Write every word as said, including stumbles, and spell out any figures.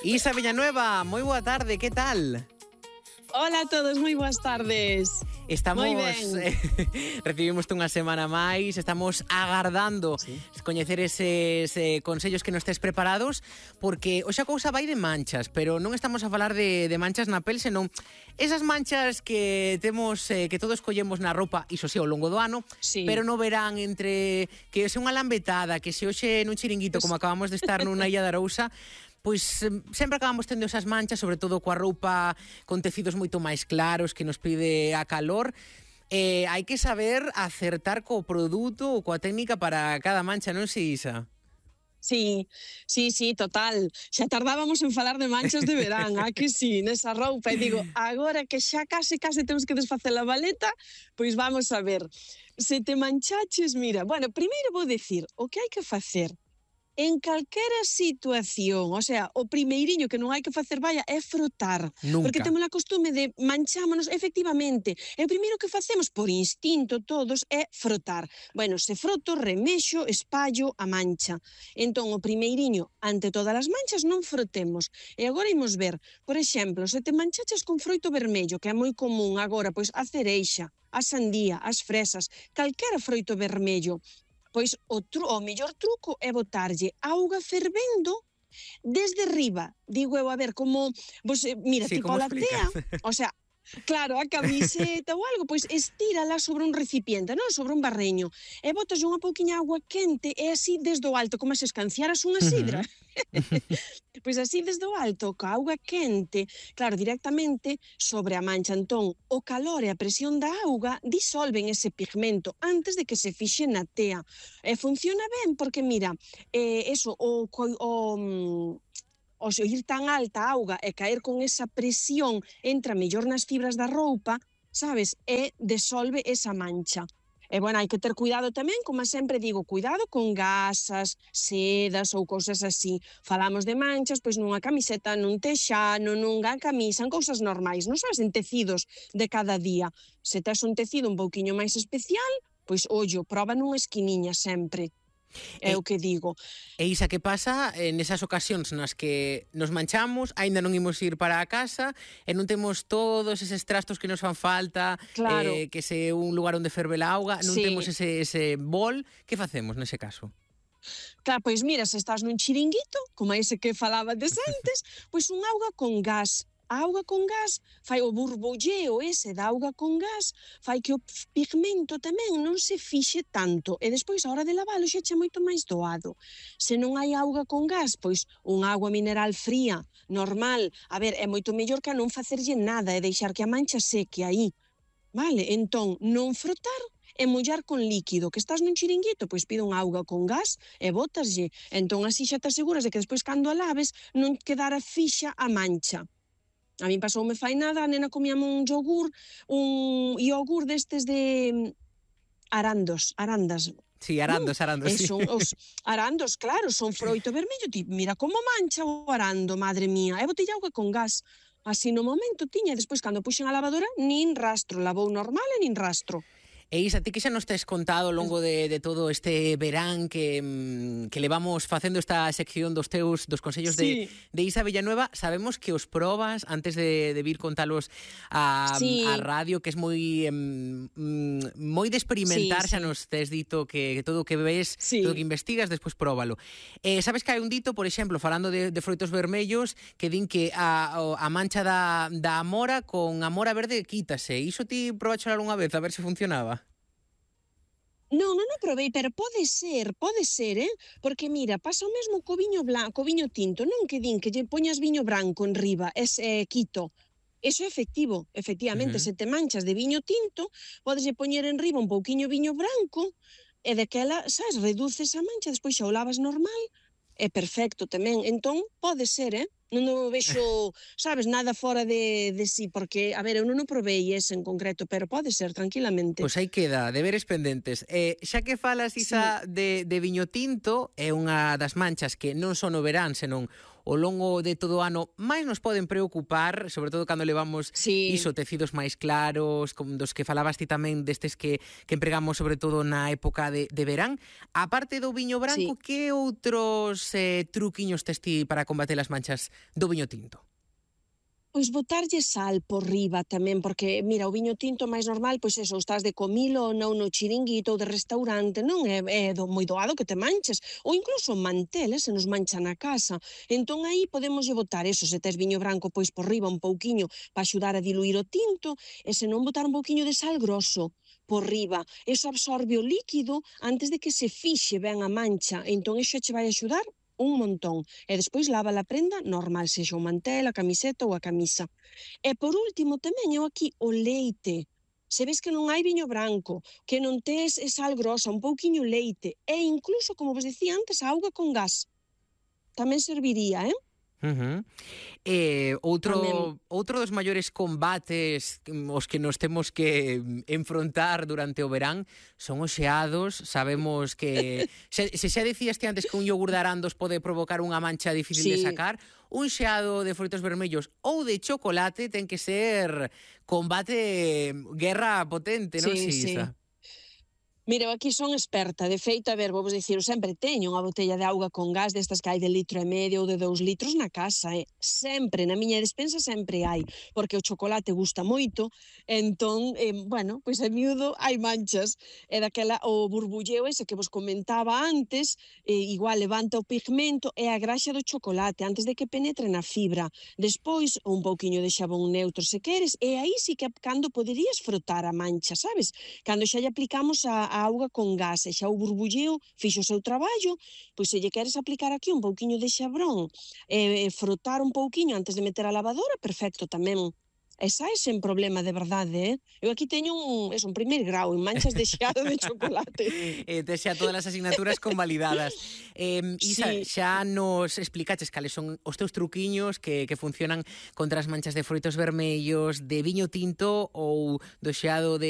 Isa Villanueva, moi boa tarde, que tal? Hola a todos, moi boas tardes. Estamos, moi ben. eh, recibimos unha semana máis, estamos agardando sí. coñecer eses eh, consellos que nos tes preparados, porque hoxe a cousa vai de manchas, pero non estamos a falar de, de manchas na pel, senón esas manchas que temos, eh, que todos collemos na roupa, iso sí, ao longo do ano, sí. pero no verán entre que se unha lambetada, que se hoxe nun chiringuito, pues... como acabamos de estar nunha illa de Arousa, pois sempre acabamos tendo esas manchas, sobre todo coa roupa con tecidos moito máis claros que nos pide a calor. Eh, hai que saber acertar co produto ou coa técnica para cada mancha, non si, Isa? Sí, sí, sí, total. Xa tardábamos en falar de manchas de verán, a que sí, nesa roupa. E digo, agora que xa case, case temos que desfacer a baleta, pois vamos a ver. Se te manchaches, mira, bueno, primeiro vou decir, o que hai que facer en calquera situación, o sea, o primeiriño que non hai que facer vaya é frotar. Nunca. Porque temos a costume de manchámonos, efectivamente. E o primeiro que facemos por instinto todos é frotar. Bueno, se froto, remexo, espallo a mancha. Entón, o primeiriño, ante todas as manchas, non frotemos. E agora imos ver, por exemplo, se te manchaches con froito vermello, que é moi común agora, pois a cereixa, a sandía, as fresas, calquera froito vermello, pois o, tru, o mellor truco é botarlle auga fervendo desde riba. Digo eu, a ver, como... Vos, mira, sí, tipo a latea, o sea, claro, a camiseta ou algo, pois estírala sobre un recipiente, non? Sobre un barreño. E botas unha pouquiña auga quente e así desde o alto, como se escanciaras unha sidra. Uh-huh. Pois así desde o alto, ca auga quente, claro, directamente sobre a mancha. Entón, o calor e a presión da auga disolven ese pigmento antes de que se fixe na tea. E funciona ben porque, mira, eh, eso, o... o o se ir tan alta a auga e caer con esa presión entra mellor nas fibras da roupa, sabes, e desolve esa mancha. E, bueno, hai que ter cuidado tamén, como sempre digo, cuidado con gasas, sedas ou cousas así. Falamos de manchas, pois nunha camiseta, nun texano, nunha camisa, en cousas normais, non sabes, en tecidos de cada día. Se tes un tecido un pouquiño máis especial, pois, ollo, proba nunha esquiniña sempre. É o que digo. E Isa, que pasa nesas ocasións nas que nos manchamos, aínda non imos ir para a casa e non temos todos eses trastos que nos fan falta, claro. eh, que se un lugar onde ferve a auga, non sí. temos ese, ese bol, que facemos nese caso? Claro, pois mira, se estás nun chiringuito, como ese que falaba des antes, pois un auga con gas. A auga con gas fai o burbulleo ese da auga con gas, fai que o pigmento tamén non se fixe tanto e despois a hora de lavalo xa che moito máis doado. Se non hai auga con gas, pois unha auga mineral fría, normal, a ver, é moito mellor que a non facerlle nada e deixar que a mancha seque aí. Vale, entón, non frotar e mollar con líquido, que estás nun chiringuito, pois pide unha auga con gas e botaslle. Entón así xa te aseguras de que despois cando a laves non quedara fixa a mancha. A mí pasoume fai nada, a nena comíame un yogur, un yogur destes de arandos, arandas. Sí, arandos, ¿no? arandos, sí. Son os arandos, claro, son froito vermello, ti, mira como mancha o arando, madre mía. E botei auga con gas, así no momento tiña, e despois cando puxen a lavadora, nin rastro, lavou normal e nin rastro. E Isa, ti que xa nos tes contado ao longo de, de todo este verán que, que levamos facendo esta sección dos teus dos consellos sí. de, de Isa Villanueva, sabemos que os probas antes de, de vir contalos a, sí. a radio, que es moi um, moi de experimentar, sí, xa sí. nos tes dito que, que todo o que ves, sí. todo o que investigas, despois próbalo. Eh, sabes que hai un dito, por exemplo, falando de, de froitos vermellos, que din que a, a mancha da, da amora con amora verde quítase. Iso ti probacho algunha vez, a ver se funcionaba? Non, non o provei, pero pode ser, pode ser, eh? Porque, mira, pasa o mesmo co viño blanco, co viño tinto, non que din que lle poñas viño branco en riba, es eh, quito. Eso é efectivo, efectivamente, uh-huh. se te manchas de viño tinto, podes lle poñer en riba un pouquiño viño branco, e daquela, sabes, reduces a mancha, despois xa o lavas normal, é perfecto tamén. Entón, pode ser, eh? Non o vexo, sabes, nada fora de, de sí, porque, a ver, eu non o provei ese en concreto, pero pode ser, tranquilamente. Pois aí queda, deberes pendentes. Eh, xa que falas, Isa, sí. de, de viño tinto, é unha das manchas que non só no verán, senón ao longo de todo o ano máis nos poden preocupar, sobre todo cando levamos Sí. iso, tecidos máis claros, como dos que falabas ti tamén, destes que, que empregamos sobre todo na época de, de verán. A parte do viño branco, Sí. que outros eh, truquiños tes ti para combater as manchas do viño tinto? Pois botarlle sal por riba tamén, porque, mira, o viño tinto máis normal, pois eso, estás de comilo ou non no chiringuito ou de restaurante, non é, é do, moi doado que te manches, ou incluso mantel, eh, se nos mancha na casa. Entón aí podemos botar eso, se tes viño branco, pois por riba un pouquiño para axudar a diluir o tinto, e se non botar un pouquiño de sal grosso por riba. Eso absorbe o líquido antes de que se fixe ben a mancha, entón iso che vai axudar un montón. E despois lava a prenda normal, sexa o mantel, a camiseta ou a camisa. E por último tamén eu aquí o leite. Se ves que non hai viño branco, que non tes sal grosa, un pouquiño leite, e incluso, como vos dicía antes, a auga con gas. Tamén serviría, eh? Uh-huh. Eh, outro, Tamén. outro dos maiores combates os que nos temos que enfrontar durante o verán son os xeados. Sabemos que se, se xa dicías ti antes que un yogur de arandos pode provocar unha mancha difícil Sí. de sacar, un xeado de frutos vermellos ou de chocolate ten que ser combate, guerra potente, non, Sí, sí. Isa? Mira, eu aquí son experta, de feito, a ver, vou vos dicir, eu sempre teño unha botella de auga con gas destas que hai de litro e medio ou de dous litros na casa, eh? Sempre, na miña despensa sempre hai, porque o chocolate gusta moito, entón, eh, bueno, pois a miúdo hai manchas, e daquela, o burbulleo ese que vos comentaba antes, eh, igual levanta o pigmento e a graxa do chocolate antes de que penetre na fibra. Despois, un pouquiño de xabón neutro se queres, e aí sí que cando poderías frotar a mancha, sabes? Cando xa lle aplicamos a a auga con gas e xa o burbulleo fixo o seu traballo, pois se lle queres aplicar aquí un pouquiño de xabrón e, e frotar un pouquiño antes de meter a lavadora, perfecto tamén. E sae sen problema, de verdade, eh? Eu aquí teño un, eso, un primeiro grau en manchas de xeado de chocolate. eh, tes xa todas as asignaturas convalidadas. Eh, Isa, Sí. xa nos explicaches cales son os teus truquiños que, que funcionan contra as manchas de froitos vermellos, de viño tinto ou do xeado de